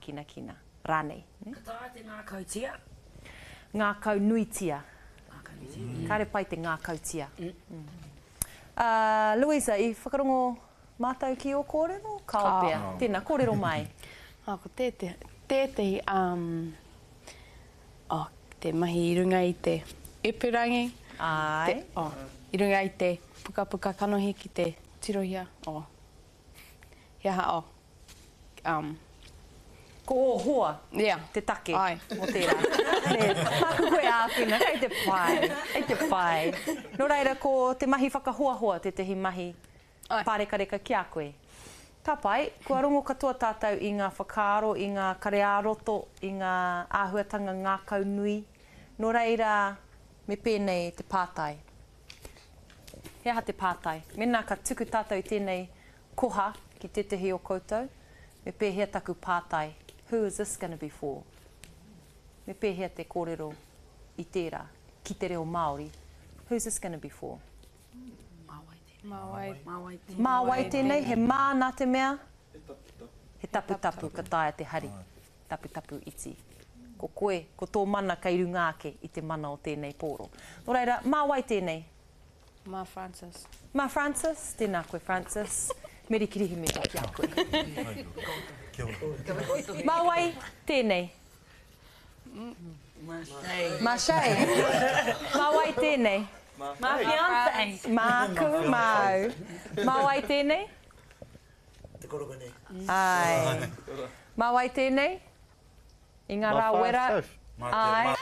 Kinakina, rānei. Ka taea te ngākautia. Ngākau nuitia. Ngākau nuitia. Kāre pai te ngākautia. Uh, Louisa, i whakarongo mātou ki ō kōrero? Kāo pea. Tēnā, kōrero mai. Oh, ko tētehi, tētehi, um, oh, te mahi i runga i te ipurangi. Āe. Te, oh, i runga i te pukapuka kanohi ki te tirohia, oh, he aha, oh, um. Ko ō hoa yeah. te take Ai. o tērā. Nē, māku koe āwhina, kei te pai, kei te pai. Nō reira, ko te mahi whakahoahoa tētehi mahi Ai. pārekareka ki a koe. Ka pai, kua rongo katoa tātou i ngā whakaaro, i ngā kare ā-roto, i ngā āhuatanga ngākau nui. Nō reira, me pēnei te pātai. He aha te pātai? Mēnā ka tuku tātou i tēnei koha ki tētehi o koutou, me pēhea taku pātai, who is this gonna be for? Me pēhea te kōrero i tērā, ki te reo Māori, who's this gonna be for? Mā wai tēnei? Mā wai, Mā wai tēnei? Mā wai tēnei? He mā nā te mea? He taputapu. He taputapu ka taea te hari, taputapu iti. Ko koe, ko tō mana kei runga ake i te mana o tēnei pōro. Nō reira, mā wai tēnei? Mā Francis. Mā Francis, tēnā koe Francis. Meri Kirihimete ki a koe. Kia ora. Mā wai tēnei? Mā Shay. Mā Shay. Mā wai tēnei? Mā fiancé. Māku, māu. Mā wai tēnei? Te koroka nei. Āe. Mā wai tēnei? I ngā rā wera. Mā Āe.